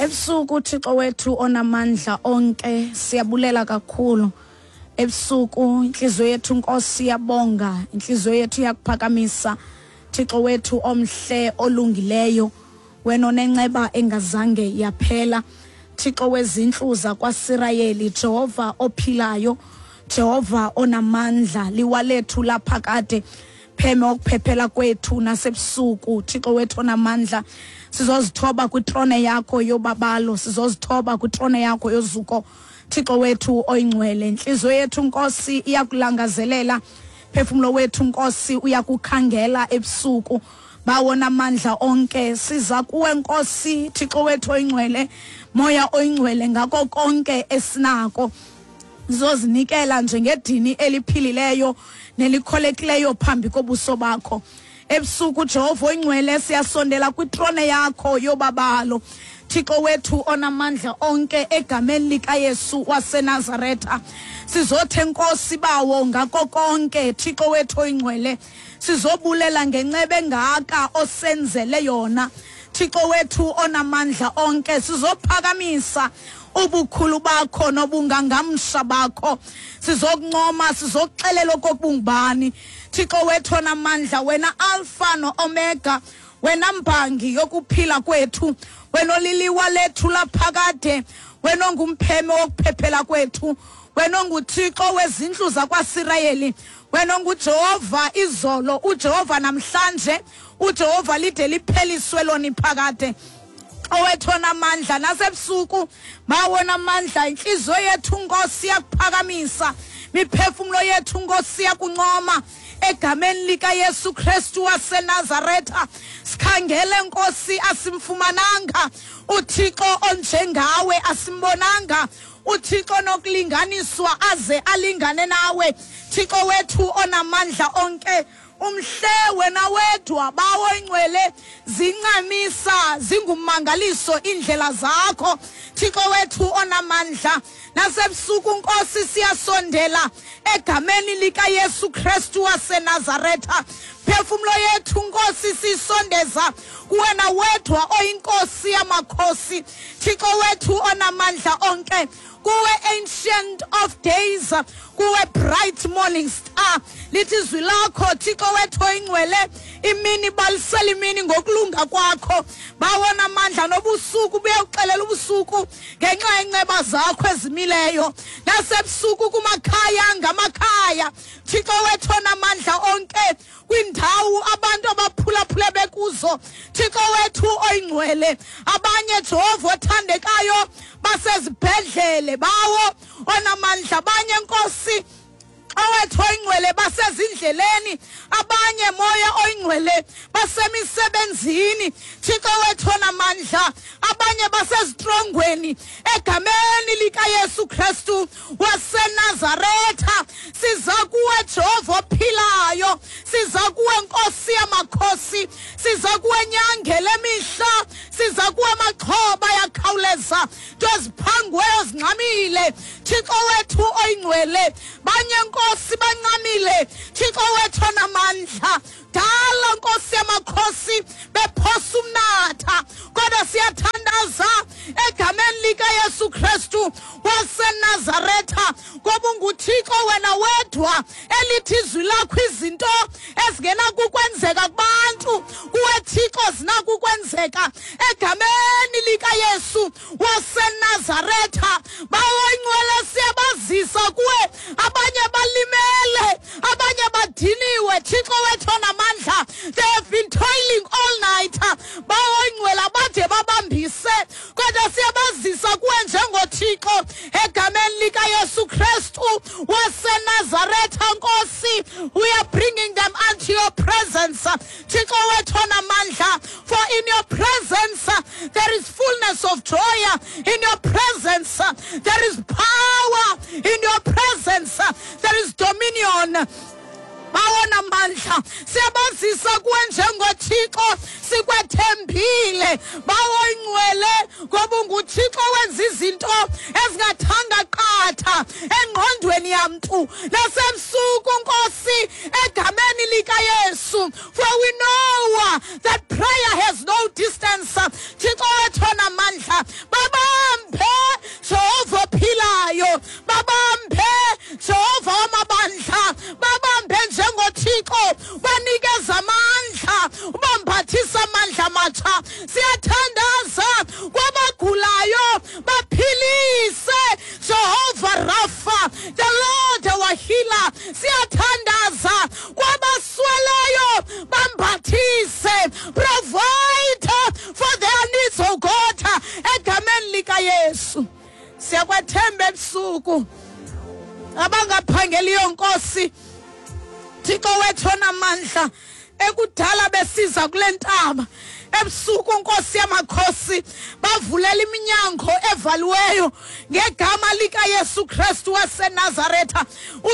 Ebusuku, Thixo wethu onamandla onke, siyabulela kakhulu. Ebusuku inhliziyo yethu, Nkosi, iyabonga, inhliziyo yethu iyakuphakamisa, Thixo wethu omhle olungileyo, wena onenceba engazange yaphela, Thixo wezintlu zakwaSirayeli, Jehova ophilayo, Jehova onamandla, liwa lethu laphakade, pheme okuphephela kwethu nasebusuku. Thixo wethu onamandla, sizozithoba kwitrone yakho yobabalo, sizozithoba kwitrone yakho yozuko, Thixo wethu oyingcwele. Intliziyo yethu, Nkosi, iyakulangazelela, phefumlo wethu, Nkosi, uyakukhangela ebusuku. Bawo namandla onke, siza kuwe, Nkosi, Thixo wethu oyingcwele, Moya oyingcwele, ngako konke esinako sizozinikela njengedini eliphilileyo nelikholekileyo phambi kobuso bakho. Ebusuku, Jehova oyingcwele, siyasondela kwitrone yakho yobabalo, Thixo wethu onamandla onke, egameni likaYesu waseNazaretha. Sizothe, Nkosi, Bawo, ngako konke, Thixo wethu oyingcwele, sizobulela ngenceba engaka osenzele yona, Thixo wethu onamandla onke. Sizophakamisa ubukhulu bakho nobungangamsha bakho, sizokuncoma, sizokuxelela okokubungubani, Thixo wethu onamandla, wena Alpha no-Omega, wena mbangi yokuphila kwethu, wena oliliwa lethu laphakade, wena ongumpheme wokuphephela kwethu, wena onguThixo wezindlu zakwaSirayeli, wena onguJehova izolo, uJehova namhlanje, uJehova lide lipheliswe lona iphakade, owethu onamandla. Nasebusuku, Bawo namandla, intliziyo yethu, Nkosi, iyakuphakamisa, miphefumlo yethu, Nkosi, iyakuncoma egameni likaYesu Kristu waseNazaretha. Sikhangele, Nkosi, asimfumananga uThixo onjengawe, asimbonanga uThixo nokulinganiswa aze alingane nawe, Thixo wethu onamandla onke. Umhle wena wedwa, Bawo ingcwele, zincamisa zingummangaliso iindlela zakho, Thixo wethu onamandla. Nasebusuku, Nkosi, siyasondela egameni likaYesu Kristu waseNazaretha. Phefumlo yethu, Nkosi, siyisondeza kuwena wedwa oyiNkosi yamakhosi, Thixo wethu onamandla onke, kuwe Ancient of Days, kuwe Bright Morning Star. Lithi izwi lakho, Thixo wethu oyingcwele, imini balisela imini ngokulunga kwakho, bawona amandla, nobusuku buyawuxelela ubusuku ngenxa yenceba zakho ezimileyo. Nasebusuku kumakhaya ngamakhaya, Thixo wethu onamandla onke, kwindawo abantu abaphulaphule bekuzo, Thixo wethu oyingcwele, abanye, Jehova othandekayo, basezibhedlele, Bawo onamandla, abanye, Nkosi owethu oyingcwele, basezindleleni, abanye, Moya oyingcwele, basemisebenzini, Thixo wethu onamandla, abanye basezitrongweni, egameni likaYesu Kristu waseNazaretha siza kuwe, Jehova ophilayo, siza kuwe, Nkosi yamakhosi, siza kuwe, nyange lemihla, siza kuwe, maxhoba yakhawuleza, nto ziphangiweyo zingxamile, Thixo wethu oyingcwele. Banye, Nkosi, bancamile, Thixo wethu onamandla, dala, Nkosi yamakhosi, bephosa umnatha, kodwa siyathandaza egameni likaYesu Kristu waseNazaretha, ngoba unguThixo wena wedwa, elithi izwi lakho izinto ezingenakukwenzeka kubantu, kuwe Thixo zinakukwenzeka, egameni likaYesu waseNazaretha. Bawo ingcwele, siyabazisa kuwe, abanye balimele, abanye badiniwe, Thixo wethu onamandla. They have been toiling all night, Bawo ingcwele, abade babambise, kodwa siyabazisa kuwe njengoThixo egameni likaYesu Kristu waseNazaretha. Nkosi, we are bringing them unto your presence, Thixo wethu onamandla, for in your presence there is fullness of joy, in your presence there is power, in your presence there is dominion. Bawona mandla, siyabazisa kuwe njengoThixo, sikwethembile, Bawo ingcwele, ngoba unguThixo wenza izinto ezingathanga qatha engqondweni yamntu. Nasebusuku, Nkosi, egameni likaYesu, for we know that prayer has no distance, Thixo wethu onamandla. Siyathandaza kwabagulayo, baphilise, Jehovah Rapha, the Lord our healer. Siyathandaza kwabasweleyo, bambathise, provide for their needs, oh God, egameni likaYesu. Siyakwethemba ebusuku abangaphangeliyo, Nkosi Thixo wethu onamandla, ekudala besiza kule ntaba ebusuku. Nkosi yamakhosi, bavulela iminyango evaliweyo ngegama likaYesu Kristu waseNazaretha.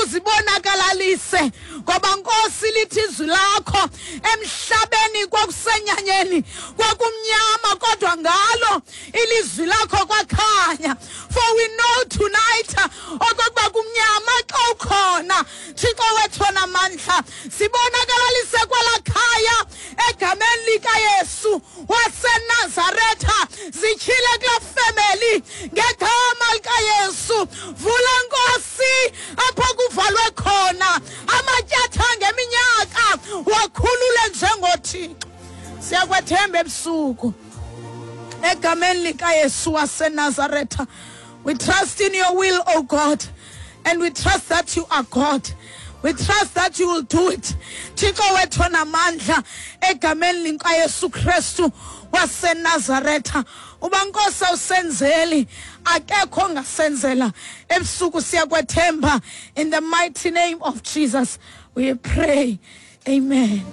Uzibonakalalise, ngoba Nkosi, lithi izwi lakho, emhlabeni kwakusenyanyeni, kwakumnyama, kodwa ngalo ilizwi lakho kwakhanya. For we know tonight okokuba kumnyama xa ukhona, Thixo wethu onamandla. Sibonakalalise kwela khaya egameni likaYesu waseNazaretha. Zityhile kulaa family ngegama likaYesu. Vula, Nkosi, apho kuvalwe khona amatyathanga eminyaka, wakhulule njengoThixo. Siyakwethemba ebusuku egameni likaYesu waseNazaretha. We trust in your will, O God, and we trust that you are God. We trust that you will do it, Thixo wethu onamandla, egameni likaYesu Kristu waseNazaretha. Uba, Nkosi, awusenzeli, akekho ongasenzela. Ebusuku siyakwethemba. In the mighty name of Jesus we pray, amen.